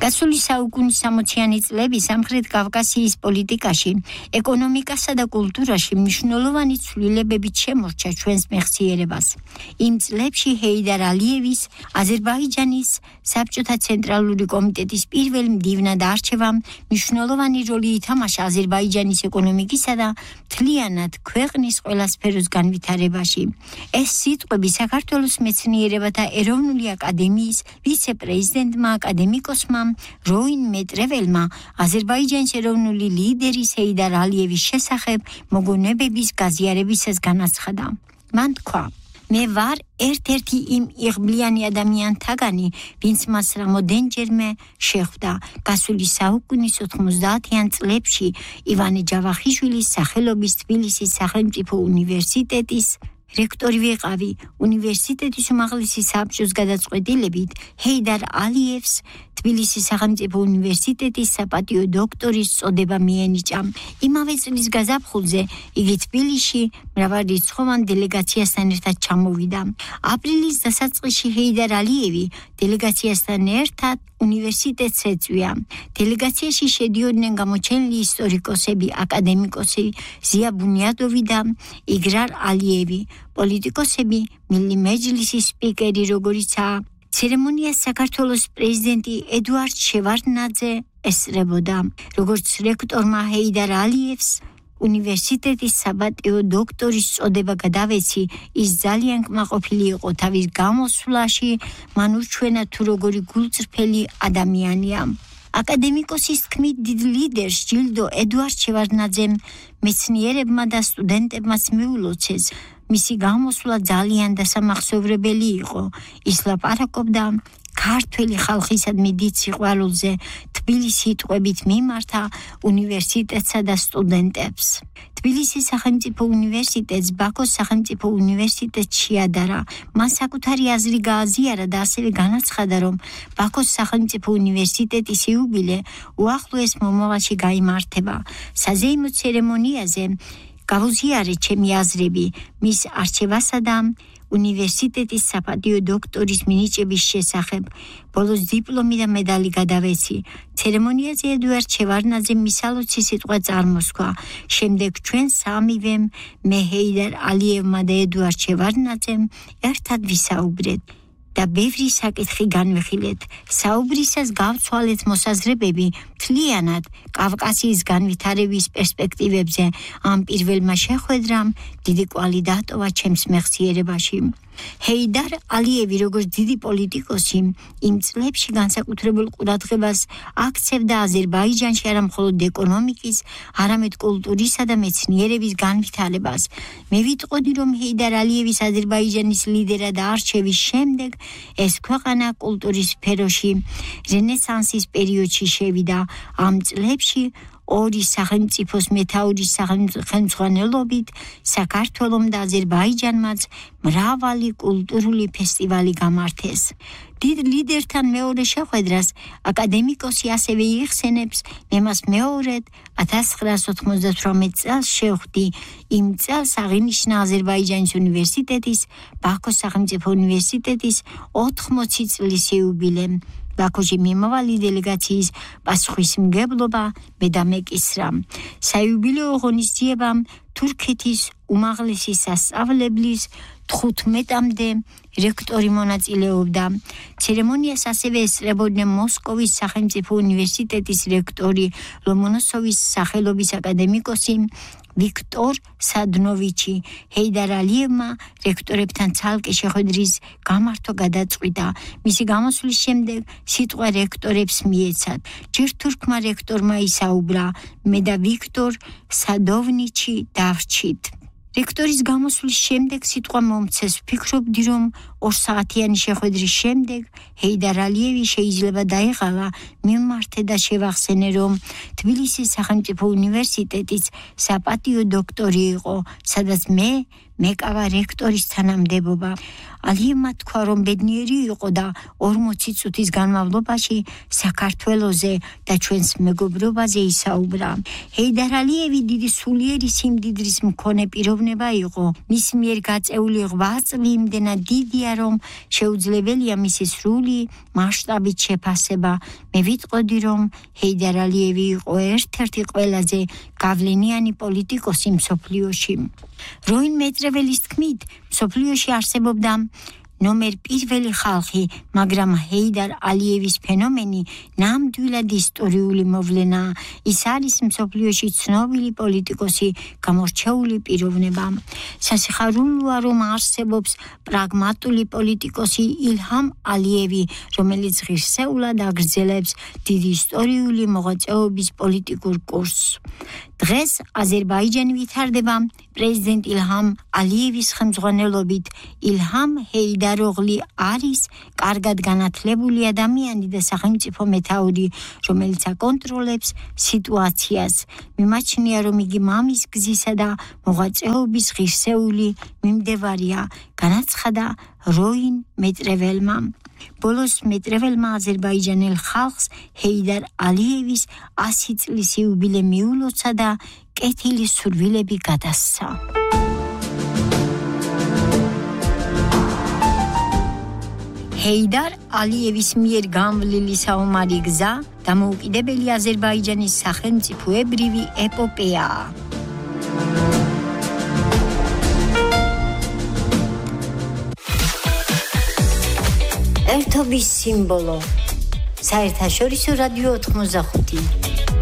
გასული საუკუნის 60-იანი წლები სამხრეთ კავკასიის პოლიტიკაში, ეკონომიკასა და კულტურაში მნიშვნელოვანი ცვლილებებით შემორჩა ჩვენს მეხსიერებას. იმ წლებში ჰეიდარ ალიევის, აზერბაიჯანის საბჭოთა ცენტრალური კომიტეტის პირველ მდივნად არჩევამ მნიშვნელოვანი როლი ითამაშა აზერბაიჯანის ეკონომიკისა და მთლიანად ქვეყნის ყველა სფეროს განვითარებაში. ეს სიტყვები საქართველოს მეცნიერებათა ეროვნული აკადემიის ვიცე-პრეზიდენტმა აკადემიკოსმა როინ მეტრეველმა აზერბაიჯანის ეროვნული ლიდერის ჰეიდარ ალიევის შესახებ მოგონებების გაზიარებისას განაცხადა. მან თქვა: მე ვარ ერთ-ერთი იმ იღბლიანი ადამიანთაგანი, ვინც მას რამოდენჯერმე შეხვდა. გასული საუკუნის 90-იან წლებში ივანე ჯავახიშვილის სახელობის თბილისის სახელმწიფო უნივერსიტეტის რექტორი ვიყავი. უნივერსიტეტის უმაღლესი საბჭოს გადაწყვეტილებით ჰეიდარ ალიევს თბილისის სახელმწიფო უნივერსიტეტის საპატიო დოქტორის წოდება მიენიჭა. იმავე წლის გაზაფხულზე იგი თბილისში მრავალრიცხოვან დელეგაციასთან ერთად ჩამოვიდა. აპრილის დასაწყისში ჰეიდარ ალიევი დელეგაციასთან ერთად უნივერსიტეტს ეწვია. დელეგაციაში შედიოდნენ გამოჩენილი ისტორიკოსები, აკადემიკოსი ზია ბუნიადოვი და იგრარ ალიევი, პოლიტიკოსები, მილი მეჯლისის სპიკერი, როგორიცაა ცერემონიას საქართველოს პრეზიდენტი ედუარდ შევარდნაძე ესწრებოდა. როგორც რექტორმა ჰეიდარ ალიევს უნივერსიტეტის საპატიო დოქტორის წოდება გადავეცი, ის ძალიან კმაყოფილი იყო თავის გამოსვლაში, მან ურჩვენა თუ როგორი გულწრფელი ადამიანია. აკადემიკოსის თქმით, დიდ ლიდერს ჯილდო ედუარდ შევარდნაძემ მეცნიერებმა და სტუდენტებმაც მიულოცეს. მისი გამოსვლა ძალიან დასამახსოვრებელი იყო. ის ლაპარაკობდა ქართველი ხალხისადმი დიდ სიყვარულზე, თბილისის სიტყვებით მიმართა უნივერსიტეტსა და სტუდენტებს. თბილისის სახელმწიფო უნივერსიტეტს ბაქოს სახელმწიფო უნივერსიტეტს შეადარა. მან საკუთარი აზრი გააზიარა და ასევე განაცხადა, რომ ბაქოს სახელმწიფო უნივერსიტეტის იუბილე უახლოეს მომავალში გაიმართება. საზეიმო ცერემონიაზე გავუზიარეთ ჩემი აზრები მის არჩევასა და უნივერსიტეტის საპატიო დოქტორის მინიჭების შესახებ. ბოლოს დიპლომი და მედალი გადავეცი. ცერემონიაზე ედუარდ შევარდნაძემ მისალოცი სიტყვა წარმოსქვა. შემდეგ ჩვენ სამივემ, მე ჰეიდარ ალიევმა და ედუარდ შევარდნაძემ ერთად ვისაუბრეთ და ბევრი საკითხი განვიხილეთ. საუბრისას გავცვალეთ მოსაზრებები მთლიანად კავკასიის განვითარების პერსპექტივებზე. ამ პირველმა შეხვედრამ დიდი კვალი დატოვა ჩემს მეხსიერებაში. ჰეიდარ ალიევი, როგორც დიდი პოლიტიკოსი, იმ წლებში განსაკუთრებულ ყურადღებას აქცევდა აზერბაიჯანში არა მხოლოდ ეკონომიკის, არამედ კულტურისა და მეცნიერების განვითარებას. მე ვიტყოდი, რომ ჰეიდარ ალიევის აზერბაიჯანის ლიდერად არჩევის შემდეგ ეს ქვეყანა კულტურის სფეროში რენესანსის პერიოდში შევიდა. ამ წლებში ორი სახელმწიფოს მეთაურის ხელმძღვანელობით საქართველომ და აზერბაიჯანმაც მრავალი კულტურული ფესტივალი გამართეს. დიდ ლიდერთან მეორე შეხვედრას აკადემიკოსი ასევე იხსენებს, მე მას მეორედ 1998 წელს შევხვდი. იმ წელს აღინიშნა აზერბაიჯანის უნივერსიტეტის, ბაქოს სახელმწიფო უნივერსიტეტის 80 წლის იუბილე. ბაქოში მიმავალი დელეგაციის პასუხისმგებლობა მე დამეკისრა. საიუბილეო ღონისძიებამ თურქეთის უმაღლესი სასწავლებლის 15-მდე რექტორი მონაწილეობდა. ცერემონიას ასევე ესწრებოდნენ მოსკოვის სახელმწიფო უნივერსიტეტის რექტორი, ლომონოსოვის სახელობის აკადემიკოსი ვიქტორ სადნოვიჩი. ჰეიდარ ალიევმა რექტორებთან ცალკე შეხვედრის გამართვა გადაწყვიტა. მისი გამოსვლის შემდეგ სიტყვა რექტორებს მიეცათ. ჯერ თურქმა რექტორმა ისაუბრა, მე და ვიქტორ სადონოვიჩი დავრჩით. რექტორის გამოსვლის შემდეგ სიტყვა მომცეს. ვფიქრობდი, რომ 2 საათიანი შეხვედრის შემდეგ ჰეიდარ ალიევი შეიძლება დაეღალა. მიმართე და შევახსენე, რომ თბილისის სახელმწიფო უნივერსიტეტის საპატიო დოქტორი იყო, სადაც მე მეკავა რექტორის თანამდებობა. ალიევმა თქვა, რომ ბედნიერი იყო და 40 წუთის განმავლობაში საქართველოზე და ჩვენს მეგობრობაზე ისაუბრა. ჰეიდარ ალიევი დიდი სულიერი სიმდიდრის მქონე პიროვნება იყო. მის მიერ გაწეული 8 წლი იმდენად დიდია, რომ შეუძლებელია მისი სრული მასშტაბით შეფასება. მე ვიტყოდი, რომ ჰეიდარ ალიევი იყო ერთ-ერთი ყველაზე გავლენიანი პოლიტიკოსი მსოფლიოში. როინ მეტრეველის თქმით, მსოფლიოში არსებობდა ნომერ პირველი ხალხი, მაგრამ ჰეიდარ ალიევის ფენომენი ნამდვილად ისტორიული მოვლენაა. ის არის მსოფლიოში ცნობილი პოლიტიკოსი, გამორჩეული პიროვნება. სასიხარულოა, რომ არსებობს პრაგმატული პოლიტიკოსი ილჰამ ალიევი, რომელიც ღირსეულად აგრძელებს დიდი ისტორიული მოღვაწეობის პოლიტიკურ კურსს. დღეს აზერბაიჯანი ვითარდება პრეზიდენტ ილჰამ ალიევის ხელმძღვანელობით. ილჰამ ჰეიდაროღლი არის კარგად განათლებული ადამიანი და სახელმწიფო მეთაური, რომელიც აკონტროლებს სიტუაციას. მიმაჩნია, რომ იგი მამის გზისა და მოღვაწეობის ღირსეული მიმდევარია, განაცხადა როინ მეტრეველმა. ბოლოს მეტრეველმა აზერბაიჯანელ ხალხს ჰეიდარ ალიევის 100 წლის იუბილე მიულოცა და კეთილი სურვილები გადასცა. ჰეიდარ ალიევის მიერ გამვლილი საომარი გზა დამოუკიდებელი აზერბაიჯანის სახელმწიფოებრივი ეპოპეაა. ერთობის სიმბოლო. საერთაშორისო რადიო 85.